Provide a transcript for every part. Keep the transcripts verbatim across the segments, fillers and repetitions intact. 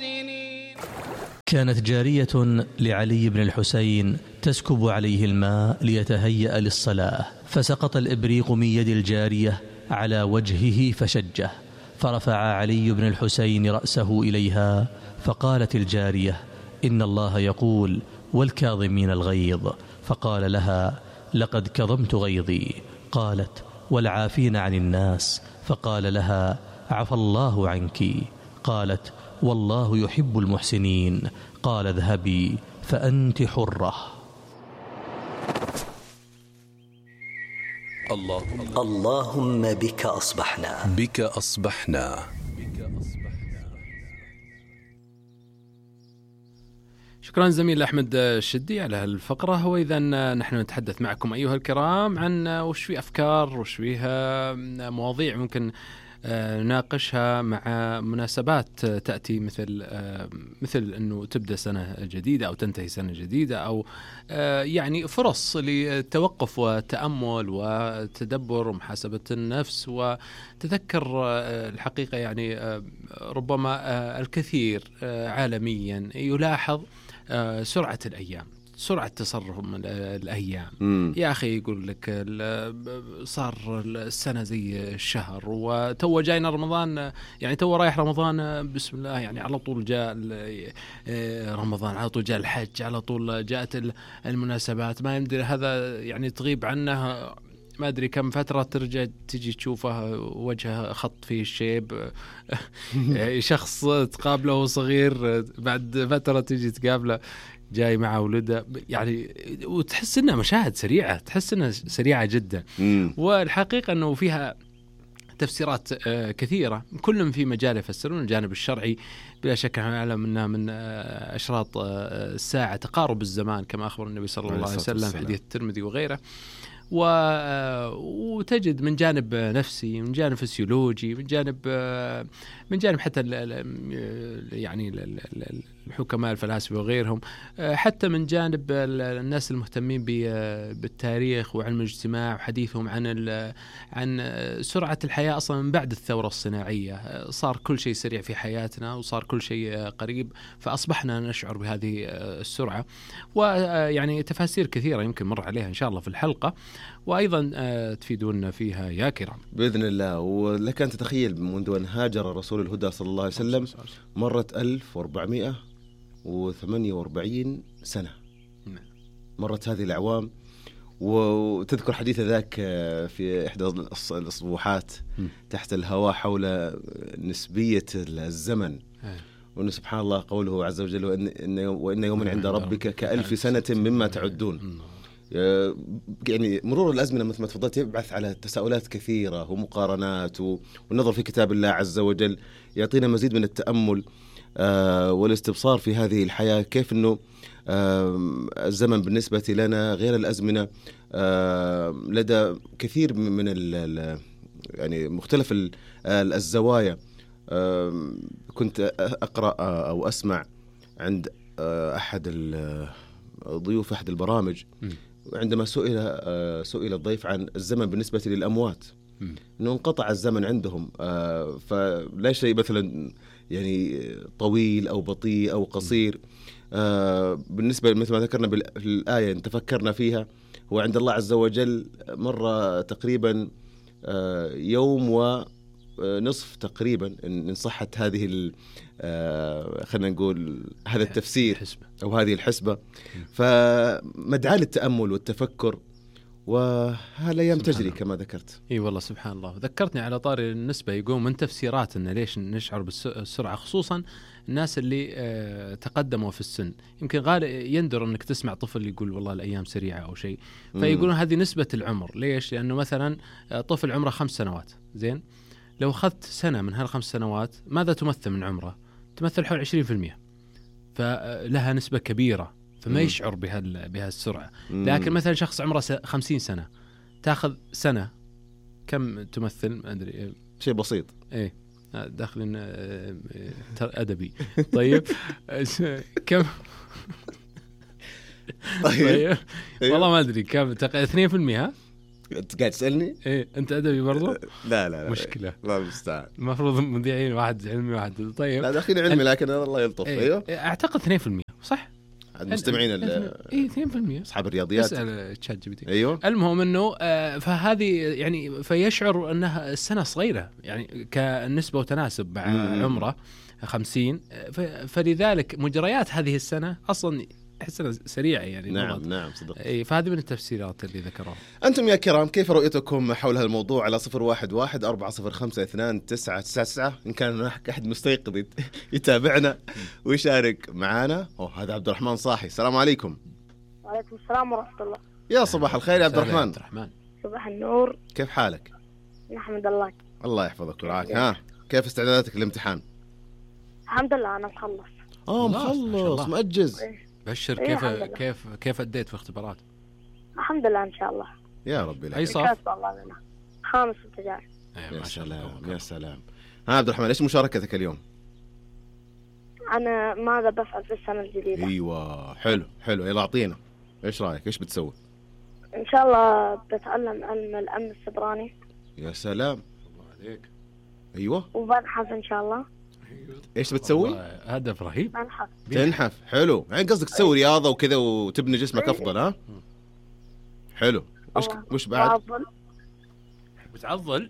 المحسنين. كانت جارية لعلي بن الحسين تسكب عليه الماء ليتهيأ للصلاة، فسقط الإبريق من يد الجارية على وجهه فشجه، فرفع علي بن الحسين رأسه إليها فقالت الجارية: إن الله يقول: والكاظمين الغيظ. فقال لها: لقد كظمت غيظي. قالت: والعافين عن الناس. فقال لها: عفى الله عنك. قالت: والله يحب المحسنين. قال: اذهبي فأنت حرة. اللهم, اللهم بك أصبحنا بك أصبحنا شكرا زميل أحمد الشدي على هالفقرة. وإذا نحن نتحدث معكم أيها الكرام عن وش في أفكار وش فيها مواضيع ممكن نناقشها مع مناسبات تأتي، مثل مثل أنه تبدأ سنة جديدة أو تنتهي سنة جديدة، أو يعني فرص للتوقف والتأمل وتدبر ومحاسبة النفس. وتذكر الحقيقة يعني ربما الكثير عالميا يلاحظ سرعة الأيام، سرعة تصرف الأيام. مم. يا أخي يقول لك صار السنة زي الشهر، وتو جاينا رمضان، يعني تو رايح رمضان بسم الله، يعني على طول جاء رمضان، على طول جاء الحج، على طول جاءت المناسبات. ما يمدري هذا يعني تغيب عنه ما أدري كم فترة، ترجع تجي تشوفه وجهه خط فيه الشيب. شخص تقابله صغير بعد فترة تجي تقابله جاي مع ولده، يعني وتحس إنها مشاهد سريعة، تحس إنها سريعة جدا. مم. والحقيقة أنه فيها تفسيرات كثيرة، كلهم في مجال يفسرون. الجانب الشرعي بلا شك نعلم أنها من أشراط الساعة تقارب الزمان كما أخبر النبي صلى الله عليه وسلم في حديث الترمذي وغيره. وتجد من جانب نفسي، من جانب فسيولوجي، من جانب من جانب حتى يعني الحكماء الفلاسفة وغيرهم، حتى من جانب الناس المهتمين بالتاريخ وعلم الاجتماع وحديثهم عن عن سرعة الحياة أصلا من بعد الثورة الصناعية. صار كل شيء سريع في حياتنا وصار كل شيء قريب، فأصبحنا نشعر بهذه السرعة. ويعني تفاسير كثيرة يمكن مر عليها إن شاء الله في الحلقة، وأيضا تفيدون فيها يا كرام بإذن الله. ولك أن تتخيل منذ أن هاجر رسول الهدى صلى الله عليه وسلم مرت ألف وأربعمائة وثمانية وأربعين سنة، مرت هذه الأعوام. وتذكر حديث ذاك في إحدى الأصبوحات تحت الهواء حول نسبية الزمن، وأن سبحان الله قوله عز وجل: وإن, وإن يوم عند ربك كألف سنة مما تعدون. يعني مرور الأزمنة مثل ما تفضلت يبعث على تساؤلات كثيرة ومقارنات، والنظر في كتاب الله عز وجل يعطينا مزيد من التأمل والاستبصار في هذه الحياة، كيف أنه الزمن بالنسبة لنا غير الأزمنة لدى كثير من ال يعني مختلف الزوايا. كنت أقرأ أو أسمع عند أحد الضيوف أحد البرامج عندما سئل سئل الضيف عن الزمن بالنسبة للأموات، أنه انقطع الزمن عندهم، فلا شيء مثلا يعني طويل أو بطيء أو قصير. بالنسبة مثل ما ذكرنا بالآية إن تفكرنا فيها، هو عند الله عز وجل مرة تقريبا يوم ونصف تقريبا إن صحت هذه خلينا نقول هذا التفسير أو هذه الحسبة. فمدعاة للتأمل والتفكر، وهالأيام تجري كما ذكرت. اي والله سبحان الله. ذكرتني على طاري النسبة، يقوم من تفسيرات إن ليش نشعر بالسرعة، خصوصا الناس اللي تقدموا في السن. يمكن غالب يندر أنك تسمع طفل يقول والله الأيام سريعة أو شيء، فيقولون هذه نسبة العمر. ليش؟ لأنه مثلا طفل عمره خمس سنوات، زين، لو أخذت سنة من هالخمس سنوات ماذا تمثل من عمره؟ تمثل حول عشرين في المية، فلها نسبة كبيرة، فما مم. يشعر بهال بهالسرعة. لكن مثلا شخص عمره خمسين سنة تأخذ سنة كم تمثل؟ ما أدري، شيء بسيط. إيه داخلين أدبي. طيب كم؟ طيب. طيب والله ما أدري كم، اثنين في المئة. انت قاعد تسالني؟ ايه انت ادبي برضو؟ لا لا لا مشكله، الله المستعان. المفروض مذيعين واحد علمي واحد طيب. لا داخلين علمي لكن الله يلطف. إيه. ايوه اعتقد اثنين بالمئة صح؟ المستمعين اي اثنين بالمئة اصحاب الرياضيات. اسال تشات جي بي تي. ايوه المهم انه آه فهذه يعني فيشعر انها السنه صغيره يعني كنسبه وتناسب مع مم. عمره خمسين، فلذلك مجريات هذه السنه اصلا احسها سريعه يعني. نعم نعم صدق. اي فهذه من التفسيرات اللي ذكروها. انتم يا كرام كيف رؤيتكم حول هالموضوع؟ على صفر واحد واحد أربعة صفر خمسة اثنان تسعة تسعة تسعة إن كان هناك أحد مستيقظ يتابعنا ويشارك معنا. أوه هذا عبد الرحمن صاحي. السلام عليكم. وعليكم السلام ورحمة الله. يا صباح الخير يا عبد الرحمن. عبد الرحمن صباح النور. كيف حالك؟ نحمد الله. الله يحفظك ويرعاك. ها كيف استعداداتك للامتحان؟ الحمد لله أنا مخلص. اه مخلص مأجز. بشر. إيه كيف كيف كيف أديت في اختبارات؟ الحمد لله إن شاء الله. يا ربي لك. أي صف؟ خامس ابتدائي. يا سلام يا سلام. ها عبد الرحمن ايش مشاركتك اليوم؟ أنا ماذا بفعل في السنة الجديدة؟ ايوه حلو حلو. يلا اعطينا ايش رايك؟ ايش بتسوي؟ إن شاء الله بتعلم علم الأمن السيبراني. يا سلام. الله عليك. ايوه. وبنحف إن شاء الله. ايش بتسوي؟ هدف رهيب. بنحف. تنحف. حلو يعني قصدك تسوي رياضة وكذا وتبني جسمك أفضل. ها حلو. وش وش بعد؟ بعضل. بتعضل؟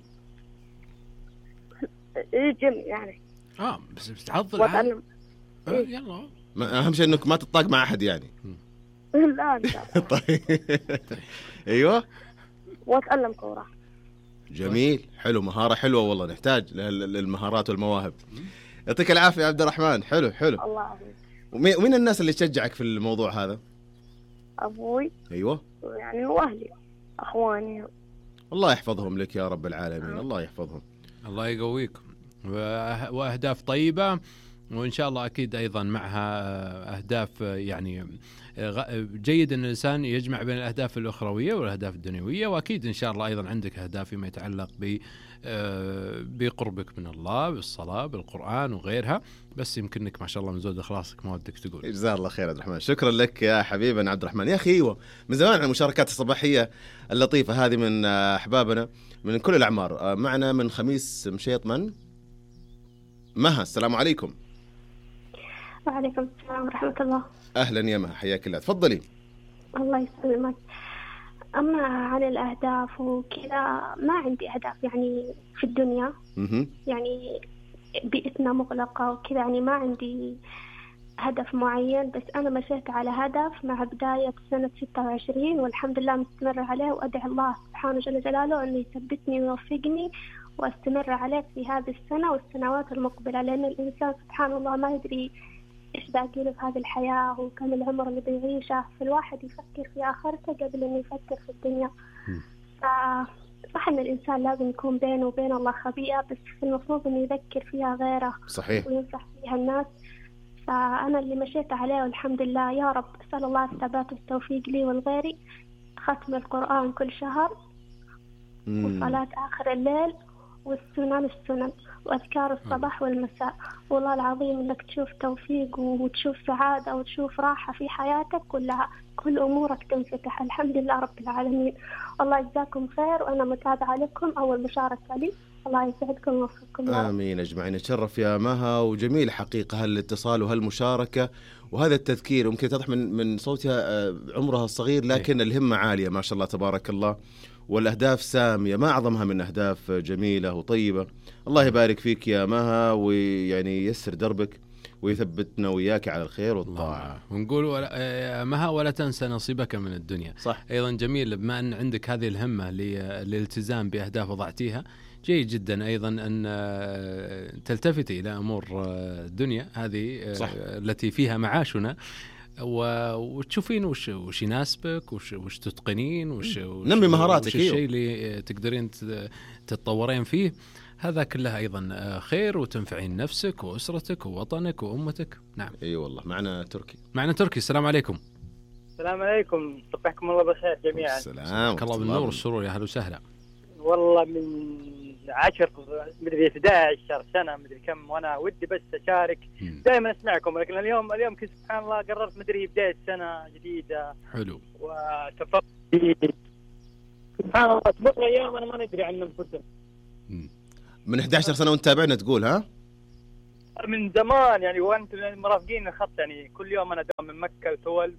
إيه جيم يعني. آه بس بتعضل. وأتعلم. آه يلا. أهم شيء إنك ما تطاق مع أحد يعني. لا إن شاء الله. طيب أيوة. وأتعلم كورة. جميل حلو. مهارة حلوة والله نحتاج للمهارات والمواهب. يعطيك العافية يا عبد الرحمن. حلو حلو. الله يعافيك. ومين الناس اللي تشجعك في الموضوع هذا؟ أبوي. أيوة. يعني وأهلي أخواني. الله يحفظهم لك يا رب العالمين. الله يحفظهم. الله يقويكم. وأهداف طيبة وإن شاء الله أكيد أيضا معها أهداف يعني جيد أن الإنسان يجمع بين الأهداف الأخروية والأهداف الدنيوية. وأكيد إن شاء الله أيضا عندك أهداف فيما يتعلق ب بقربك من الله بالصلاة بالقرآن وغيرها. بس يمكنك ما شاء الله من زود إخلاصك ما ودك تقول. جزاه الله خير عبد الرحمن. شكرا لك يا حبيبنا عبد الرحمن. يا أخي أيوة من زمان عن المشاركات الصباحية اللطيفة هذه من أحبابنا من كل الأعمار. معنا من خميس مشيط من مها. السلام عليكم. وعليكم السلام ورحمة الله. أهلا يا مها حياك الله. تفضلي. الله يسلمك. أما عن الأهداف وكذا ما عندي أهداف يعني في الدنيا. م- يعني بيئتنا مغلقة وكذا يعني ما عندي هدف معين. بس أنا مشيت على هدف مع بداية سنة ستة وعشرين والحمد لله مستمر عليه وأدعي الله سبحانه جل جلاله أنه يثبتني ويوفقني واستمر عليه في هذه السنة والسنوات المقبلة. لأن الإنسان سبحان الله ما يدري إيش باقي له في هذه الحياة وكم العمر اللي بيعيشه. فالواحد يفكر في آخرته قبل إنه يفكر في الدنيا. صح إن الإنسان لازم يكون بينه وبين الله خبيئة بس المفروض إنه يذكر فيها غيره. صحيح. وينصح فيها الناس. فأنا اللي مشيت عليه والحمد لله يا رب أسأل الله الثبات والتوفيق لي والغيري. ختم القرآن كل شهر وصلاة آخر الليل والسنن السنن وأذكار الصباح والمساء. والله العظيم إنك تشوف توفيق وتشوف سعادة وتشوف راحة في حياتك كلها. كل أمورك تنفتح. الحمد لله رب العالمين. الله يجزاكم خير وأنا متابعة لكم أول مشاركة لي. الله يسعدكم ويوفقكم. آمين أجمعين. نتشرف يا مها وجميل حقيقة هالاتصال وهالمشاركة وهذا التذكير. ممكن تضح من من صوتها عمرها الصغير لكن الهمة عالية ما شاء الله تبارك الله والأهداف سامية ما أعظمها من أهداف جميلة وطيبة. الله يبارك فيك يا مها ويعني يسر دربك ويثبتنا وياك على الخير والطاعة. ونقول ولا مها ولا تنسى نصيبك من الدنيا. صح. أيضا جميل بما أن عندك هذه الهمة للالتزام بأهداف وضعتيها جيد جدا أيضا أن تلتفتي إلى أمور الدنيا هذه. صح. التي فيها معاشنا وتشوفين وش وش يناسبك وش وش تتقنين وش نمي مهاراتك. وش الشيء اللي تقدرين تتطورين فيه. هذا كله أيضا خير وتنفعين نفسك وأسرتك ووطنك وأمتك. نعم. أي أيوة والله. معنا تركي. معنا تركي. السلام عليكم. السلام عليكم. صبحكم الله بالخير جميعا. السلام. الله بالنور والسرور. يا هلا وسهلا. والله من عشر مدري إحدى عشر سنة مدري كم وأنا ودي بس أشارك. دائما أسمعكم لكن اليوم اليوم كنت سبحان الله قررت مدري بداية سنة جديدة. حلو. وتفضل سبحان الله تمر أيام أنا ما ندري عن أنفسنا. من إحدى عشرة سنة وأنت تابعنا تقول ها؟ من زمان يعني، وأنت مرافقين الخط يعني، كل يوم أنا دوام من مكة وتول،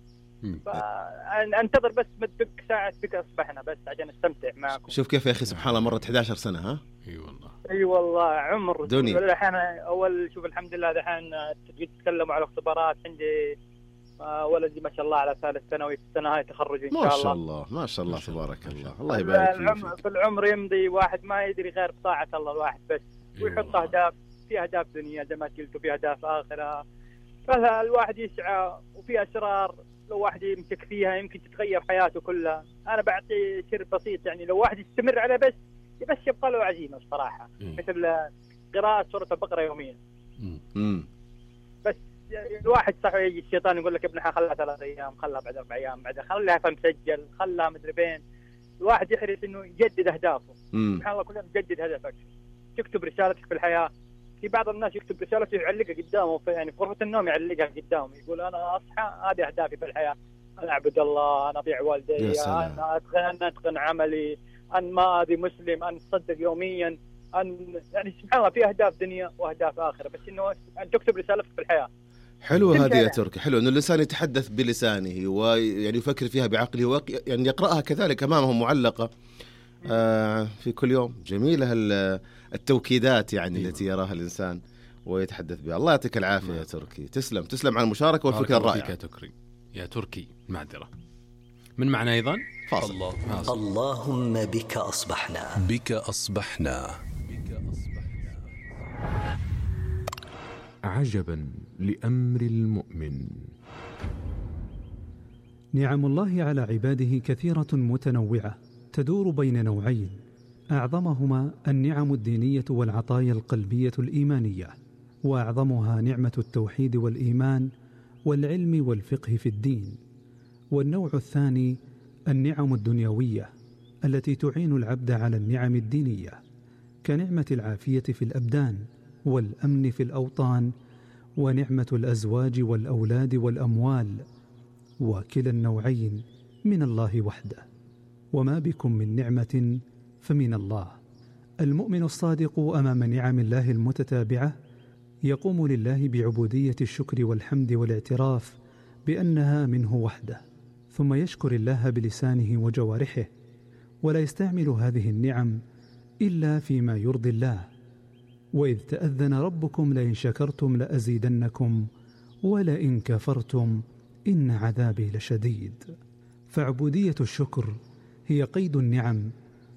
فأنتظر بس مدك ساعة بك أصبحنا بس عشان أستمتع معكم. شوف كيف يا أخي سبحان الله مرت إحدى عشرة سنة ها؟ اي والله اي والله عمر دنيا. الحين اول شوف الحمد لله الحين تتكلموا على اختبارات. عندي ولدي ما شاء الله على ثالث ثانوي، في السنه هاي تخرج ان شاء الله. ما شاء الله ما شاء الله تبارك الله. الله يبارك فيك. في العمر يمضي واحد ما يدري غير بطاعه الله الواحد بس، ويحط اهداف، في اهداف دنيا زي ما قلت وفي اهداف اخره، فالواحد يسعى وفي اسرار لو واحد يمسك فيها يمكن تتغير حياته كلها. انا بعطي سر بسيط يعني، لو واحد يستمر على بس بس يبقى له عزيمه الصراحه، مثل قراءه سوره البقره يوميا. امم بس الواحد صح يجي الشيطان يقول لك ابنها خلها ثلاث ايام، خلها بعد اربع ايام، بعد خلها فمسجل، خلها مدري فين. الواحد يحرص انه يجدد اهدافه. سبحان الله كل يوم تجدد هدفك، تكتب رسالتك في الحياه. في بعض الناس يكتب رسالته يعلقها قدامه في يعني في غرفه النوم، يعلقها قدامه يقول انا اصحى هذه اهدافي في الحياه، انا اعبد الله، انا اطيع والدي، انا اتقن انا اتقن عملي، أن ما أدي مسلم، أن تصدق يوميا، أن يعني سبحان الله في أهداف دنيا وأهداف آخرة، بس إنه أن تكتب رسالتك في الحياة. حلو هذه يا تركي، حلو إنه الإنسان يتحدث بلسانه ويعني يفكر فيها بعقله ويق... يعني يقرأها كذلك أمامه معلقة آه في كل يوم. جميلة التوكيدات يعني أيوة. التي يراها الإنسان ويتحدث بها. الله يعطيك العافية يا تركي، تسلم تسلم على المشاركة والفكرة الرائعة يا تركي. يا تركي معذرة من معنى أيضا فاصل. الله. اللهم بك أصبحنا بك أصبحنا عجبا لأمر المؤمن. نعم الله على عباده كثيرة متنوعة، تدور بين نوعين أعظمهما النعم الدينية والعطايا القلبية الإيمانية، وأعظمها نعمة التوحيد والإيمان والعلم والفقه في الدين. والنوع الثاني النعم الدنيوية التي تعين العبد على النعم الدينية، كنعمة العافية في الأبدان والأمن في الأوطان، ونعمة الأزواج والأولاد والأموال، وكلا النوعين من الله وحده. وما بكم من نعمة فمن الله. المؤمن الصادق أمام نعم الله المتتابعة يقوم لله بعبودية الشكر والحمد والاعتراف بأنها منه وحده، ثم يشكر الله بلسانه وجوارحه، ولا يستعمل هذه النعم إلا فيما يرضي الله. وإذ تأذن ربكم لئن شكرتم لأزيدنكم ولئن كفرتم إن عذابي لشديد. فعبودية الشكر هي قيد النعم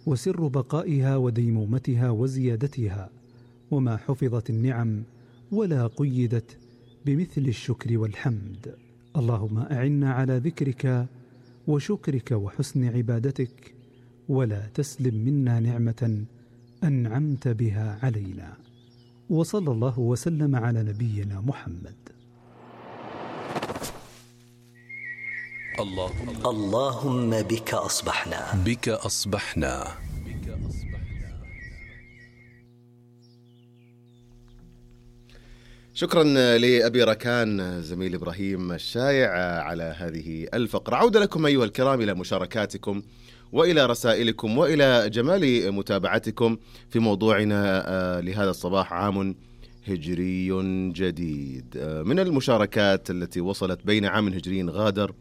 وسر بقائها وديمومتها وزيادتها، وما حفظت النعم ولا قيدت بمثل الشكر والحمد. اللهم أعنا على ذكرك وشكرك وحسن عبادتك، ولا تسلم منا نعمة أنعمت بها علينا. وصلى الله وسلم على نبينا محمد. اللهم اللهم بك أصبحنا بك أصبحنا شكرا لأبي ركان زميل إبراهيم الشايع على هذه الفقرة. عودة لكم أيها الكرام إلى مشاركاتكم وإلى رسائلكم وإلى جمال متابعتكم في موضوعنا لهذا الصباح، عام هجري جديد. من المشاركات التي وصلت بين عام هجري غادر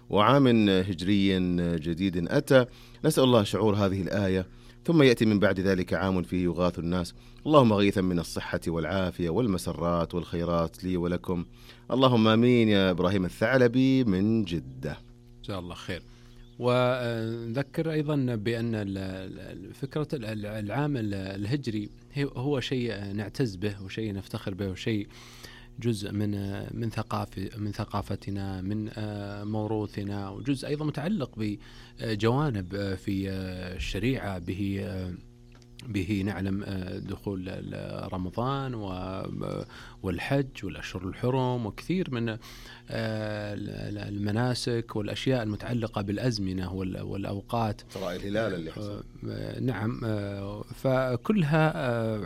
وعام هجري جديد أتى، نسأل الله شعور هذه الآية، ثم يأتي من بعد ذلك عام فيه يغاث الناس. اللهم غيثا من الصحة والعافية والمسرات والخيرات لي ولكم، اللهم آمين. يا إبراهيم الثعلبي من جدة، إن شاء الله خير. ونذكر أيضا بأن فكرة العام الهجري هو شيء نعتز به وشيء نفتخر به وشيء جزء من من ثقافة من ثقافتنا، من موروثنا، وجزء أيضا متعلق بجوانب في الشريعة به به نعلم دخول رمضان والحج والأشهر الحرم وكثير من المناسك والأشياء المتعلقة بالأزمنة والأوقات، ترى الهلال اللي حصل. نعم، فكلها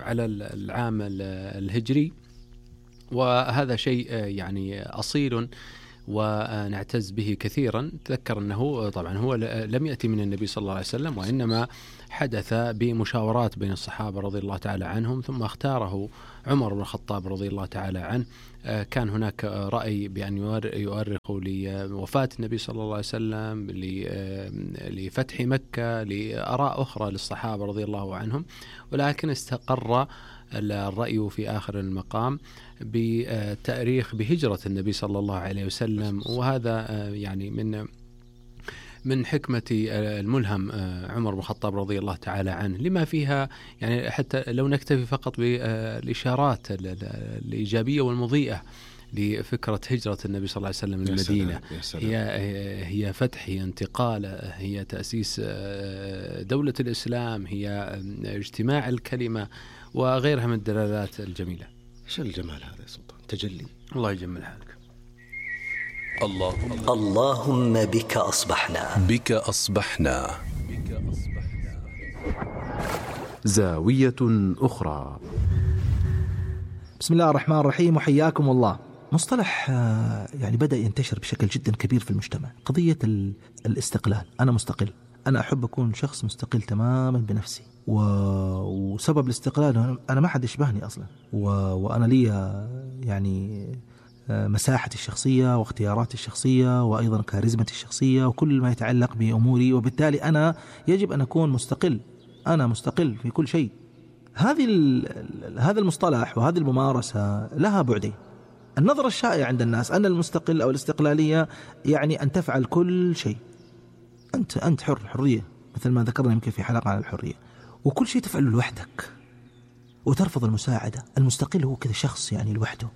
على العام الهجري، وهذا شيء يعني أصيل ونعتز به كثيرا. تذكر أنه طبعا هو لم يأتي من النبي صلى الله عليه وسلم، وإنما حدث بمشاورات بين الصحابة رضي الله تعالى عنهم، ثم اختاره عمر بن الخطاب رضي الله تعالى عنه. كان هناك رأي بأن يؤرخوا لوفاة النبي صلى الله عليه وسلم، لفتح مكة، لآراء أخرى للصحابة رضي الله عنهم، ولكن استقر الرأي في آخر المقام بتاريخ بهجرة النبي صلى الله عليه وسلم. وهذا يعني من من حكمة الملهم عمر بن الخطاب رضي الله تعالى عنه، لما فيها يعني حتى لو نكتفي فقط بالإشارات الإيجابية والمضيئة لفكرة هجرة النبي صلى الله عليه وسلم للمدينة. هي هي فتح، هي انتقال، هي تأسيس دولة الإسلام، هي اجتماع الكلمة وغيرها من الدلالات الجميلة. شو الجمال هذا يا سلطان؟ تجلي. الله يجمل حالك. اللهم اللهم بك أصبحنا بك أصبحنا زاوية أخرى. بسم الله الرحمن الرحيم، وحياكم الله. مصطلح يعني بدأ ينتشر بشكل جدا كبير في المجتمع، قضية الاستقلال. أنا مستقل، أنا أحب أكون شخص مستقل تماما بنفسي، و... وسبب الاستقلال أنا ما حد يشبهني أصلا، و... وأنا لي يعني مساحتي الشخصية واختياراتي الشخصية وأيضا كاريزمتي الشخصية وكل ما يتعلق بأموري، وبالتالي أنا يجب أن أكون مستقل. أنا مستقل في كل شيء. هذه هذا المصطلح وهذه الممارسة لها بعدين. النظرة الشائعة عند الناس أن المستقل أو الاستقلالية يعني أن تفعل كل شيء، أنت أنت حر، حرية، مثل ما ذكرنا يمكن في حلقة عن الحرية، وكل شيء تفعله لوحدك وترفض المساعدة. المستقل هو كذا شخص يعني لوحده،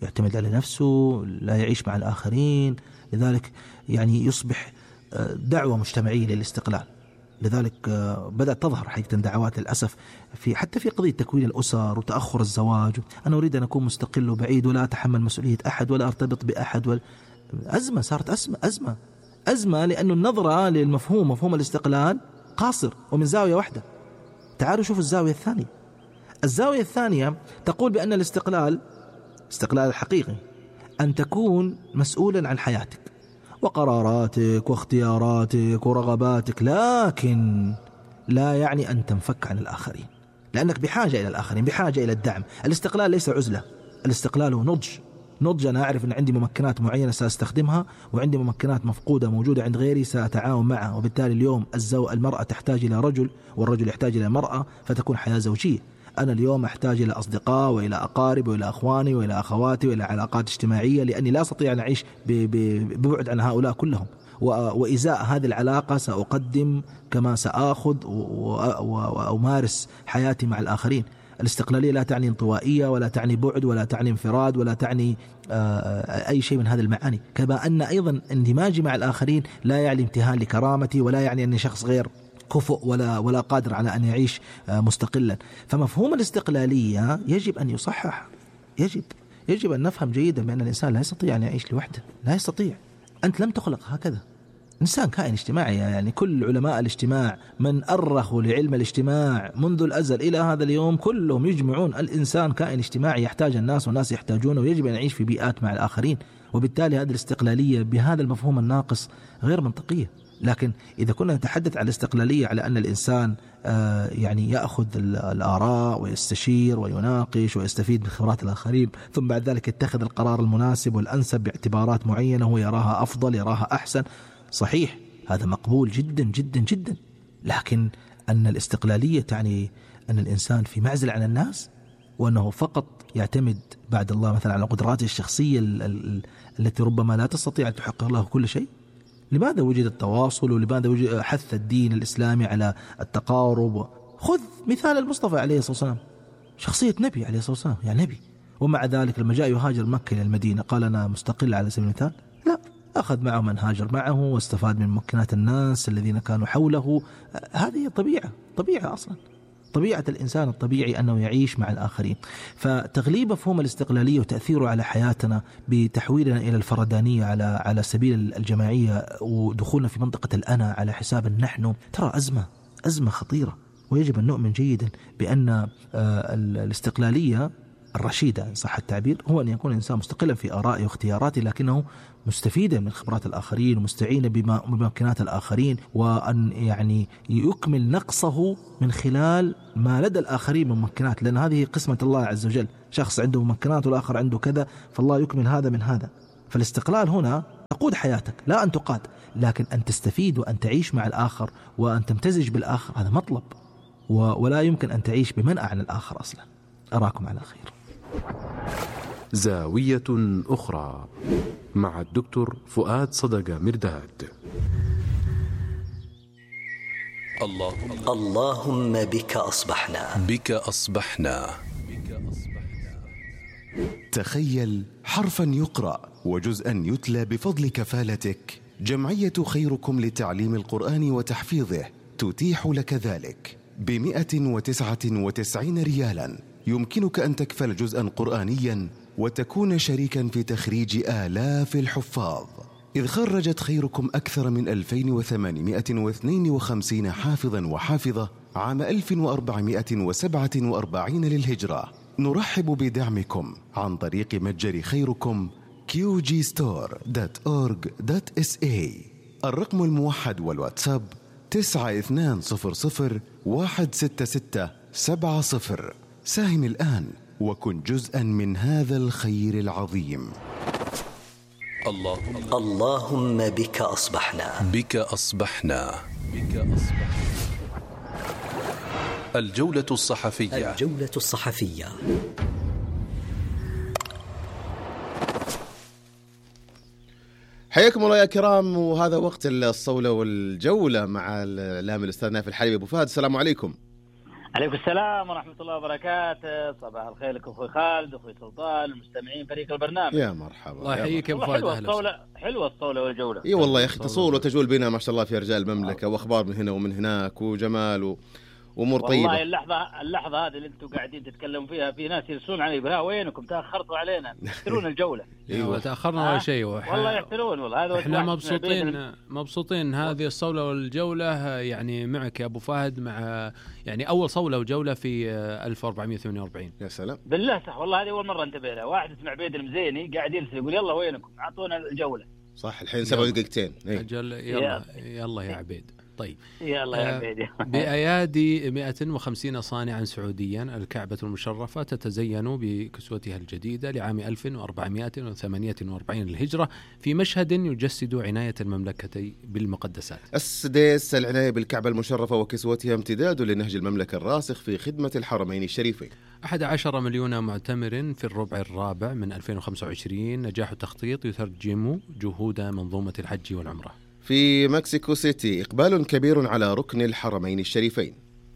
يعتمد على نفسه، لا يعيش مع الآخرين، لذلك يعني يصبح دعوة مجتمعية للاستقلال. لذلك بدأت تظهر حقيقة دعوات للأسف في حتى في قضية تكوين الأسر وتأخر الزواج. أنا أريد أن أكون مستقل وبعيد ولا أتحمل مسؤولية أحد ولا أرتبط بأحد ولا... أزمة، صارت أزمة أزمة أزمة لأنه النظرة للمفهوم مفهوم الاستقلال قاصر ومن زاوية واحدة. تعالوا شوفوا الزاوية الثانية. الزاوية الثانية تقول بأن الاستقلال، استقلال الحقيقي، أن تكون مسؤولا عن حياتك وقراراتك واختياراتك ورغباتك، لكن لا يعني أن تنفك عن الآخرين، لأنك بحاجة إلى الآخرين، بحاجة إلى الدعم. الاستقلال ليس عزلة، الاستقلال هو نضج. نضج، أنا أعرف أن عندي ممكنات معينة سأستخدمها، وعندي ممكنات مفقودة موجودة عند غيري سأتعاون معها، وبالتالي اليوم الزو المرأة تحتاج إلى رجل والرجل يحتاج إلى مرأة، فتكون حياة زوجية. أنا اليوم أحتاج إلى أصدقاء وإلى أقارب وإلى أخواني وإلى أخواتي وإلى علاقات اجتماعية، لأني لا أستطيع أن أعيش ببعد عن هؤلاء كلهم، وإزاء هذه العلاقة سأقدم كما سأخذ وأمارس حياتي مع الآخرين. الاستقلالية لا تعني انطوائية ولا تعني بعد ولا تعني انفراد ولا تعني أي شيء من هذه المعاني، كما أن أيضا اندماجي مع الآخرين لا يعني امتهان لكرامتي ولا يعني أني شخص غير كفؤ ولا ولا قادر على أن يعيش مستقلا. فمفهوم الاستقلالية يجب أن يصحح، يجب يجب أن نفهم جيدا بأن الإنسان لا يستطيع أن يعيش لوحده، لا يستطيع. أنت لم تخلق هكذا، إنسان كائن اجتماعي. يعني كل علماء الاجتماع من أرخوا لعلم الاجتماع منذ الأزل إلى هذا اليوم كلهم يجمعون الإنسان كائن اجتماعي، يحتاج الناس والناس يحتاجونه، ويجب أن يعيش في بيئات مع الآخرين. وبالتالي هذه الاستقلالية بهذا المفهوم الناقص غير منطقية. لكن إذا كنا نتحدث عن الاستقلالية على أن الإنسان يعني يأخذ الآراء ويستشير ويناقش ويستفيد من خبرات الآخرين، ثم بعد ذلك يتخذ القرار المناسب والأنسب باعتبارات معينة هو يراها أفضل، يراها أحسن، صحيح، هذا مقبول جدا جدا جدا. لكن أن الاستقلالية تعني أن الإنسان في معزل عن الناس، وأنه فقط يعتمد بعد الله مثلا على قدراته الشخصية التي ربما لا تستطيع أن تحقق له كل شيء. لماذا وجد التواصل؟ ولماذا وجد حث الدين الإسلامي على التقارب؟ خذ مثال المصطفى عليه الصلاة والسلام، شخصية نبي عليه الصلاة والسلام، يعني نبي، ومع ذلك لما جاء يهاجر مكة إلى المدينة قال أنا مستقل على سبيل المثال؟ لا، أخذ معه من هاجر معه واستفاد من ممكنات الناس الذين كانوا حوله. هذه طبيعة، طبيعة أصلا، طبيعة الإنسان الطبيعي أنه يعيش مع الآخرين. فتغليب مفهوم الاستقلالية وتأثيره على حياتنا بتحويلنا إلى الفردانية على على سبيل الجماعية ودخولنا في منطقة الأنا على حساب النحن، ترى أزمة أزمة خطيرة. ويجب أن نؤمن جيدا بأن الاستقلالية الرشيدة إن صح التعبير هو أن يكون إنسان مستقلا في آرائه واختياراته، لكنه مستفيدا من خبرات الآخرين ومستعينا بممكنات الآخرين، وأن يعني يكمل نقصه من خلال ما لدى الآخرين من ممكنات، لأن هذه قسمة الله عز وجل، شخص عنده ممكنات والآخر عنده كذا، فالله يكمل هذا من هذا. فالاستقلال هنا تقود حياتك، لا أن تقاد، لكن أن تستفيد وأن تعيش مع الآخر وأن تمتزج بالآخر، هذا مطلب، ولا يمكن أن تعيش بمنأى عن الآخر أصلا. أراكم على خير. زاوية أخرى مع الدكتور فؤاد صدقة مرداد. اللهم اللهم بك أصبحنا بك أصبحنا. تخيل حرفا يقرأ وجزءا يتلى بفضل كفالتك. جمعية خيركم لتعليم القرآن وتحفيظه تتيح لك ذلك بمئة وتسعة وتسعين ريالا. يمكنك أن تكفل جزءا قرآنيا وتكون شريكا في تخريج آلاف الحفاظ، إذ خرجت خيركم أكثر من ألفين وثمانمئة واثنين وخمسين حافظا وحافظة عام ألف وأربعمئة وسبعة وأربعين للهجرة. نرحب بدعمكم عن طريق متجر خيركم كيو جي ستور دوت أورج دوت إس إيه. الرقم الموحد والواتساب تسعة اثنان صفر صفر واحد ستة ستة سبعة صفر. ساهم الآن وكن جزءا من هذا الخير العظيم. اللهم اللهم بك أصبحنا بك أصبحنا. بك أصبحنا. الجولة الصحفية. الجولة الصحفية. حياكم الله يا كرام، وهذا وقت الصولة والجولة مع الإعلام الأستاذ نايف الحلبي. أبو فهد، السلام عليكم. عليكم السلام ورحمة الله وبركاته. صباح الخير لكم أخوي خالد وأخوي سلطان المستمعين فريق البرنامج. يا مرحبا. الله يحييك يا أبو فهد. حلوة الصولة، حلوة الصولة والجولة. إي والله يا أخي، تصول وتجول بنا ما شاء الله في رجال المملكة، وأخبار من هنا ومن هناك وجمال و... وامور طيبه. والله اللحظه اللحظه هذه اللي انتم قاعدين تتكلموا فيها في ناس يرسلون علي بها، وينكم تاخرتوا علينا، يحترون الجوله. ايوه تاخرنا ولا شيء. والله يحترون والله. هذا احنا مبسوطين مبسوطين هذه الصوله والجوله يعني معك يا ابو فهد، مع يعني اول صوله وجوله في ألف وأربعمئة وثمانية وأربعين. يا سلام بالله صح والله. هذه اول مره انتبه لها. واحد اسمه عبيد المزيني قاعد يرسل يقول يلا وينكم اعطونا الجوله. صح الحين سبع دقيقتين. اجل يلا يلا يا عبيد. طيب يلا يا عبيدي. بأيادي مئة وخمسين صانعا سعوديا الكعبة المشرفة تتزين بكسوتها الجديدة لعام ألف وأربعمئة وثمانية وأربعين للهجرة في مشهد يجسد عناية المملكة بالمقدسات. السديس العناية بالكعبة المشرفة وكسوتها امتداد لنهج المملكة الراسخ في خدمة الحرمين الشريفين. أحد عشر مليون معتمر في الربع الرابع من ألفين وخمسة وعشرين. نجاح التخطيط يترجم جهود منظومة الحج والعمرة. في مكسيكو سيتي إقبال كبير على ركن الحرمين الشريفين.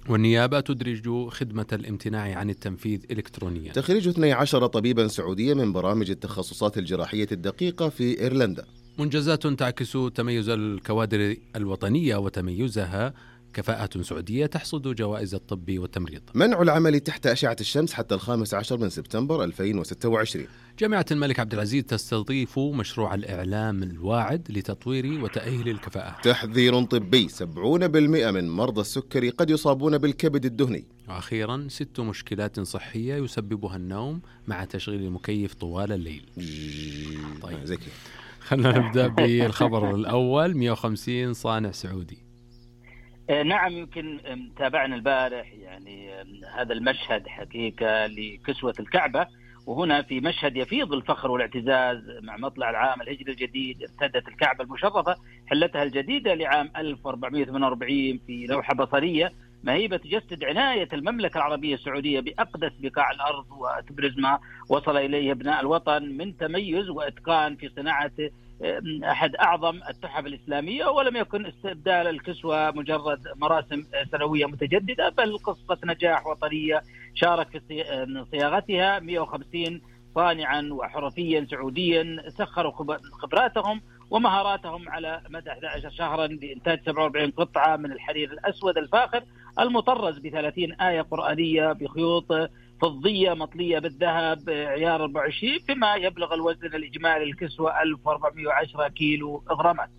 والنيابة تدرج خدمة الامتناع عن التنفيذ إلكترونيا. تخريج اثني عشر طبيبا سعوديا من برامج التخصصات الجراحية الدقيقة في إيرلندا. منجزات تعكس تميز الكوادر الوطنية وتميزها. كفاءة سعودية تحصد جوائز الطب والتمريض. منع العمل تحت أشعة الشمس حتى الخامس عشر من سبتمبر ألفين وستة وعشرين. جامعة الملك عبد العزيز تستضيف مشروع الإعلام الواعد لتطوير وتأهيل الكفاءة. تحذير طبي، سبعين بالمئة من مرضى السكري قد يصابون بالكبد الدهني. وأخيرا ست مشكلات صحية يسببها النوم مع تشغيل المكيف طوال الليل. طيب زكي. خلينا نبدأ بالخبر الأول. مئة وخمسين صانع سعودي. نعم، يمكن تابعنا البارح يعني هذا المشهد حقيقة لكسوة الكعبة، وهنا في مشهد يفيض الفخر والاعتزاز مع مطلع العام الهجري الجديد. ارتدت الكعبة المشرفة حلتها الجديدة لعام ألف وأربعمئة وثمانية وأربعين في لوحة بصرية مهيبة تجسد عناية المملكة العربية السعودية بأقدس بقاع الأرض، وتبرز ما وصل إليه أبناء الوطن من تميز وإتقان في صناعة أحد أعظم التحف الإسلامية. ولم يكن استبدال الكسوة مجرد مراسم سنوية متجددة، بل قصة نجاح وطنية شارك في صياغتها مئة وخمسين صانعا وحرفيا سعوديا سخروا خبراتهم ومهاراتهم على مدى أحد عشر شهرا لإنتاج سبعة وأربعين قطعة من الحرير الأسود الفاخر المطرز بثلاثين آية قرآنية بخيوط فضية مطلية بالذهب عيار أربعة وعشرين، فيما يبلغ الوزن الإجمالي الكسوة ألف وأربعمئة وعشرة كيلو غرامات.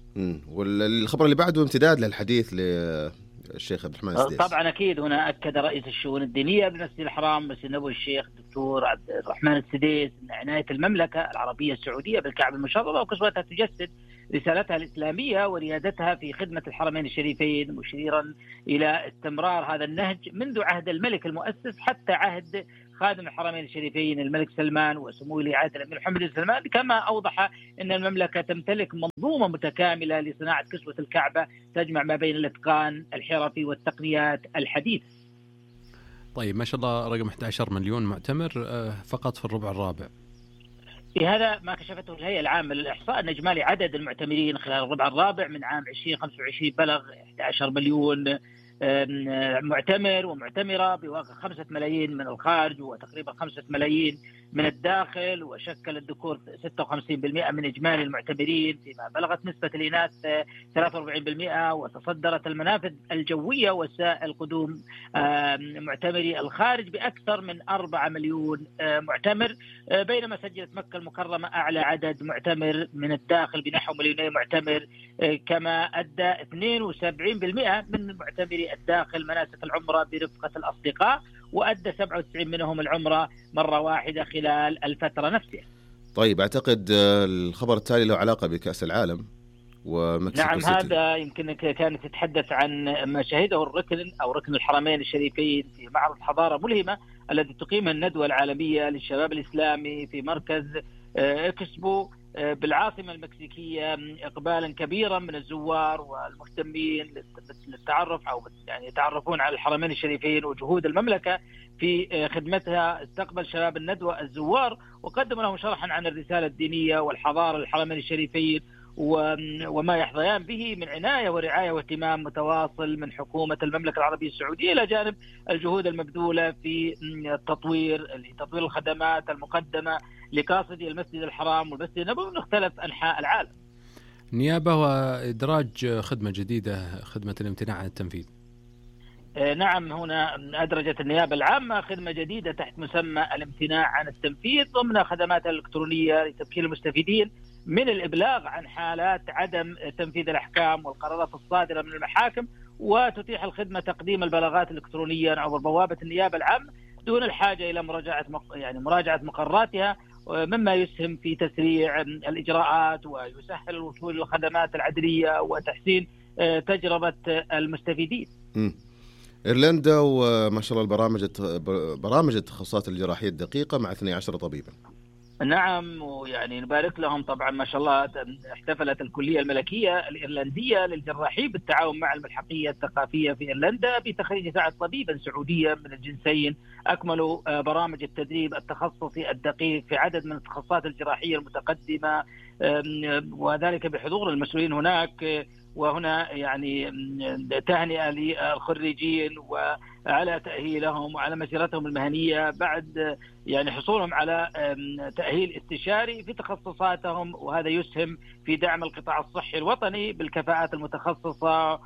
والخبر اللي بعده امتداد للحديث ل الشيخ عبد الرحمن السديس. طبعا أكيد هنا أكد رئيس الشؤون الدينية بالمسجد الحرام مسجد النبوي الشيخ الدكتور عبد الرحمن السديس أن عناية المملكة العربية السعودية بالكعبة المشرفة وكسوتها تجسد رسالتها الإسلامية وريادتها في خدمة الحرمين الشريفين، مشيرا إلى استمرار هذا النهج منذ عهد الملك المؤسس حتى عهد خادم الحرمين الشريفين الملك سلمان وسمو ولي عهد الأمير محمد بن سلمان، كما أوضح أن المملكة تمتلك منظومة متكاملة لصناعة كسوة الكعبة تجمع ما بين الإتقان الحرفي والتقنيات الحديثة. طيب ما شاء الله رقم أحد عشر مليون معتمر فقط في الربع الرابع. هذا ما كشفته الهيئة العامة للإحصاء أن إجمالي عدد المعتمرين خلال الربع الرابع من عام ألفين وخمسة وعشرين بلغ أحد عشر مليون معتمر ومعتمرة بواقع خمسة ملايين من الخارج وتقريبا خمسة ملايين من الداخل، وشكل الذكور ستة وخمسين بالمئة من إجمالي المعتمرين، فيما بلغت نسبة الإناث ثلاثة وأربعين بالمئة، وتصدرت المنافذ الجوية وسائل قدوم معتمري الخارج بأكثر من أربعة مليون معتمر، بينما سجلت مكة المكرمة أعلى عدد معتمر من الداخل بنحو مليونين معتمر، كما أدى اثنين وسبعين بالمئة من معتمري الداخل مناسك العمرة برفقة الأصدقاء، وأدى سبعة وتسعين منهم العمرة مرة واحدة خلال الفترة نفسها. طيب أعتقد الخبر التالي له علاقة بكأس العالم ومكسيكو نعم سيتي. هذا يمكن كانت تتحدث عن ما شهده الركن أو ركن الحرمين الشريفين في معرض حضارة ملهمة الذي تقيمها الندوة العالمية للشباب الإسلامي في مركز إكسبو بالعاصمة المكسيكية، إقبالا كبيرا من الزوار والمهتمين للتعرف أو يعني يتعرفون على الحرمين الشريفين وجهود المملكة في خدمتها. استقبل شباب الندوة الزوار وقدم لهم شرحا عن الرسالة الدينية والحضارة للحرمين الشريفين وما يحظيان به من عناية ورعاية واهتمام متواصل من حكومة المملكة العربية السعودية، إلى جانب الجهود المبذولة في التطوير لتطوير الخدمات المقدمة لقاصدي المسجد الحرام والمسجد النبوي من مختلف أنحاء العالم. نيابة وإدراج خدمة جديدة، خدمة الامتناع عن التنفيذ. نعم هنا أدرجت النيابة العامة خدمة جديدة تحت مسمى الامتناع عن التنفيذ ضمن خدمات الإلكترونية لتمكين المستفيدين من الإبلاغ عن حالات عدم تنفيذ الأحكام والقرارات الصادرة من المحاكم، وتتيح الخدمة تقديم البلاغات الإلكترونية عبر بوابة النيابة العامة دون الحاجة إلى مراجعة يعني مراجعة مقرراتها، مما يسهم في تسريع الإجراءات ويسهل الوصول للخدمات العدلية وتحسين تجربة المستفيدين. م. إيرلندا وما شاء الله البرامج برامج التخصصات الجراحية الدقيقة مع اثني عشر طبيبا. نعم ويعني نبارك لهم طبعا ما شاء الله. احتفلت الكلية الملكية الإيرلندية للجراحين بالتعاون مع الملحقية الثقافية في إيرلندا بتخريج تسعة طبيبا سعوديا من الجنسين أكملوا برامج التدريب التخصصي الدقيق في عدد من التخصصات الجراحية المتقدمة، وذلك بحضور المسؤولين هناك. وهنا يعني تهنئة للخريجين وعلى تأهيلهم وعلى مسيرتهم المهنية بعد يعني حصولهم على تأهيل استشاري في تخصصاتهم، وهذا يسهم في دعم القطاع الصحي الوطني بالكفاءات المتخصصة.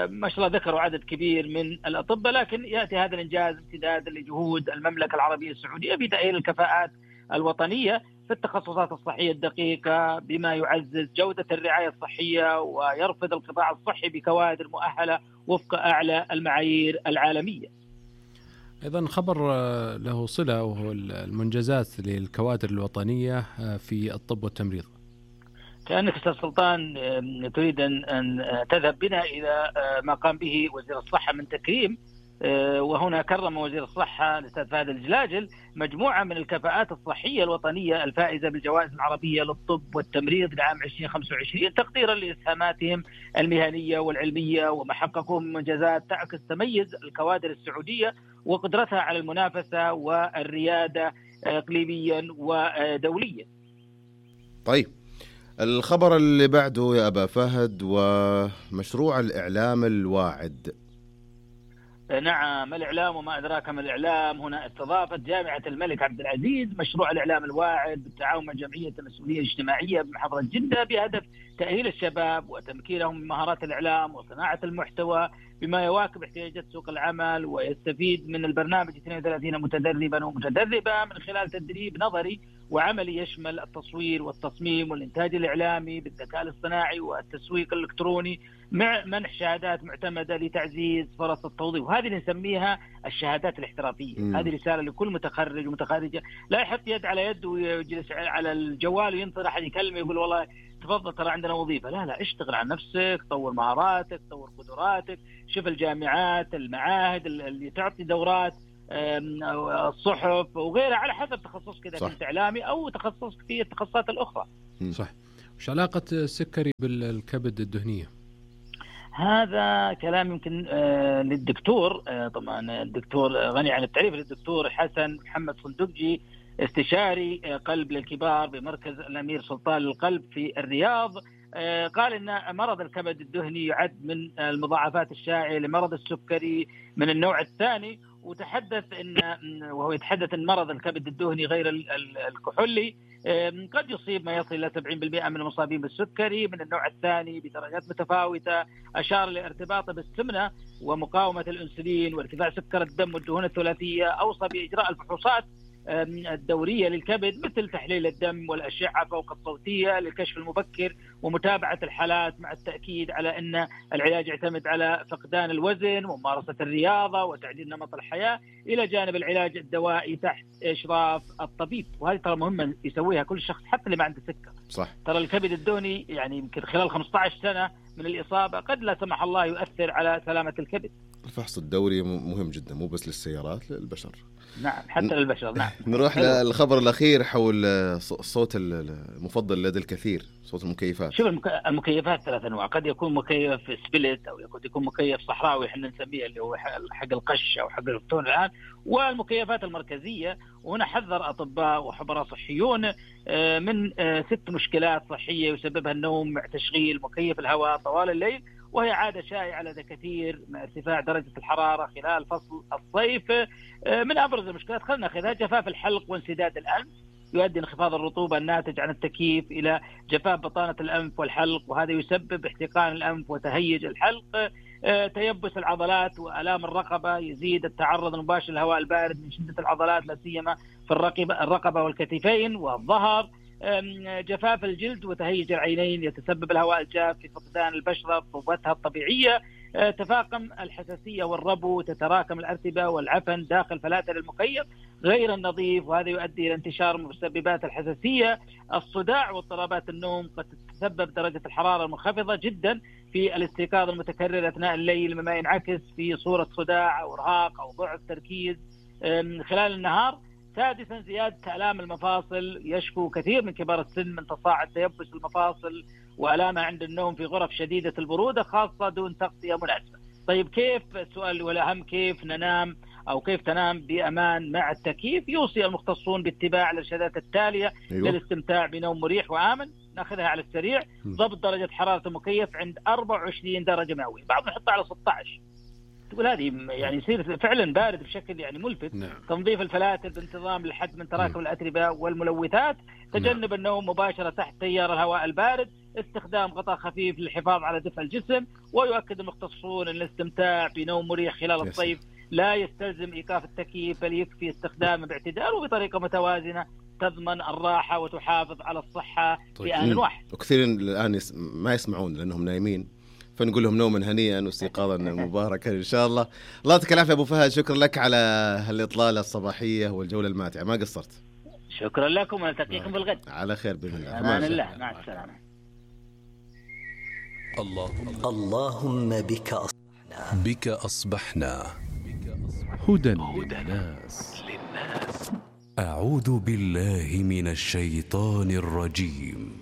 ما شاء الله ذكروا عدد كبير من الأطباء، لكن يأتي هذا الإنجاز امتدادا لجهود المملكة العربية السعودية في تأهيل الكفاءات الوطنية في التخصصات الصحية الدقيقة بما يعزز جودة الرعاية الصحية ويرفض القطاع الصحي بكوادر مؤهلة وفق أعلى المعايير العالمية. أيضا خبر له صلة وهو المنجزات للكوادر الوطنية في الطب والتمريض. كأنك أستاذ سلطان تريد أن تذهب بنا إلى ما قام به وزير الصحة من تكريم، وهنا كرم وزير الصحة الأستاذ فهد الجلاجل مجموعة من الكفاءات الصحية الوطنية الفائزة بالجوائز العربية للطب والتمريض لعام ألفين وخمسة وعشرين تقديرا لإسهاماتهم المهنية والعلمية وما حققوه من منجزات تعكس تميز الكوادر السعودية وقدرتها على المنافسة والريادة إقليميا ودوليا. طيب الخبر اللي بعده يا أبا فهد ومشروع الإعلام الواعد. نعم الإعلام وما أدراك ما الإعلام. هنا استضافت جامعة الملك عبد العزيز مشروع الإعلام الواعد بالتعاون مع جمعية المسؤولية الاجتماعية بمحافظة جدة بهدف تأهيل الشباب وتمكينهم من مهارات الإعلام وصناعة المحتوى بما يواكب احتياجات سوق العمل، ويستفيد من البرنامج اثنين وثلاثين متدربا ومتدربة من خلال تدريب نظري وعملي يشمل التصوير والتصميم والإنتاج الإعلامي بالذكاء الاصطناعي والتسويق الإلكتروني مع منح شهادات معتمدة لتعزيز فرص التوظيف. وهذه اللي نسميها الشهادات الاحترافية. م. هذه رسالة لكل متخرج ومتخرجة، لا يحط يد على يد ويجلس على الجوال وينطر أحد يكلمه يقول والله تفضل ترى عندنا وظيفة. لا لا، اشتغل على نفسك، طور مهاراتك، طور قدراتك، شوف الجامعات المعاهد اللي تعطي دورات، الصحف وغيرها على حسب تخصصك إذا كنت إعلامي أو تخصصك في التخصصات الأخرى. صح. وش علاقة السكري بالكبد الدهنية؟ هذا كلام يمكن آه للدكتور، آه طبعا الدكتور غني عن التعريف، للدكتور حسن محمد صندوقجي استشاري آه قلب للكبار بمركز الأمير سلطان للقلب في الرياض. آه قال إن مرض الكبد الدهني يعد من المضاعفات الشائعة لمرض السكري من النوع الثاني، وتحدث إن وهو يتحدث أن مرض الكبد الدهني غير الكحولي قد يصيب ما يصل إلى سبعين بالمئة من المصابين بالسكري من النوع الثاني بدرجات متفاوتة. أشار لارتباطه بالسمنة ومقاومة الأنسولين وارتفاع سكر الدم والدهون الثلاثية. أوصى بإجراء الفحوصات الدورية للكبد مثل تحليل الدم والأشعة فوق الصوتية للكشف المبكر ومتابعة الحالات، مع التأكيد على أن العلاج يعتمد على فقدان الوزن وممارسة الرياضة وتعديل نمط الحياة إلى جانب العلاج الدوائي تحت إشراف الطبيب. وهذه ترى مهمة يسويها كل شخص حتى اللي ما عنده سكر. صح. ترى الكبد الدهني يعني يمكن خلال خمسة عشر سنة من الإصابة قد لا سمح الله يؤثر على سلامة الكبد. الفحص الدوري مهم جدا، مو بس للسيارات، للبشر. نعم حتى للبشر. نعم. نروح للخبر الأخير حول الصوت المفضل لدى الكثير، صوت المكيفات. شوف المكيفات ثلاث أنواع، قد يكون مكيف سبلت أو قد يكون مكيف صحراوي احنا نسميه اللي هو حق القش أو حق الفتون الآن، والمكيفات المركزية. وهنا حذر أطباء وخبراء صحيون من ست مشكلات صحية يسببها النوم مع تشغيل مكيف الهواء طوال الليل، وهي عادة شائعة لدى كثير مع ارتفاع درجة الحرارة خلال فصل الصيف. من أبرز المشكلات خلنا ناخذها جفاف الحلق وانسداد الأنف، يؤدي انخفاض الرطوبة الناتج عن التكييف إلى جفاف بطانة الأنف والحلق، وهذا يسبب احتقان الأنف وتهيج الحلق. تيبس العضلات وآلام الرقبة، يزيد التعرض المباشر للهواء البارد من شدة العضلات لا سيما في الرقبة والكتفين والظهر. جفاف الجلد وتهيج العينين، يتسبب الهواء الجاف في فقدان البشرة رطوبتها الطبيعية. تفاقم الحساسية والربو، تتراكم الأرتبة والعفن داخل فلاتر المكيف غير النظيف، وهذا يؤدي إلى انتشار مسببات الحساسية. الصداع واضطرابات النوم، قد تتسبب درجة الحرارة المنخفضة جدا في الاستيقاظ المتكرر أثناء الليل مما ينعكس في صورة صداع أو إرهاق أو ضعف تركيز خلال النهار. سادسا زيادة آلام المفاصل، يشكو كثير من كبار السن من تصاعد تيبس المفاصل وآلامها عند النوم في غرف شديدة البرودة خاصة دون تغطية مناسبة. طيب كيف، السؤال والأهم، كيف ننام أو كيف تنام بأمان مع التكييف؟ يوصي المختصون باتباع الإرشادات التالية أيوة. للاستمتاع بنوم مريح وآمن. ناخذها على السريع. ضبط درجة حرارة المكيف عند أربعة وعشرين درجة مئوية، بعض نحطها على ستة عشر. تقول هذه يعني يصير فعلا بارد بشكل يعني ملفت. نعم. تنظيف الفلاتر بانتظام للحد من تراكم الأتربة والملوثات. تجنب نعم. النوم مباشرة تحت تيار الهواء البارد. استخدام غطاء خفيف للحفاظ على دفء الجسم. ويؤكد المختصون أن الاستمتاع بنوم مريح خلال الصيف لا يستلزم إيقاف التكييف، بل يكفي استخدامه باعتدال وبطريقة متوازنة تضمن الراحة وتحافظ على الصحة طيب. في آن واحد. وكثير الآن ما يسمعون لأنهم نايمين، فنقول لهم نوما هنيئا واستيقاظا مباركا إن شاء الله. الله يعطيك العافية أبو فهد، شكرا لك على هالإطلالة الصباحية والجولة الماتعة، ما قصرت. شكرا لكم ونلتقيكم بالغد على خير بإذن الله. أمان الله، مع السلامة. اللهم اللهم بك أصبحنا بك أصبحنا هدى للناس. أعوذ بالله من الشيطان الرجيم.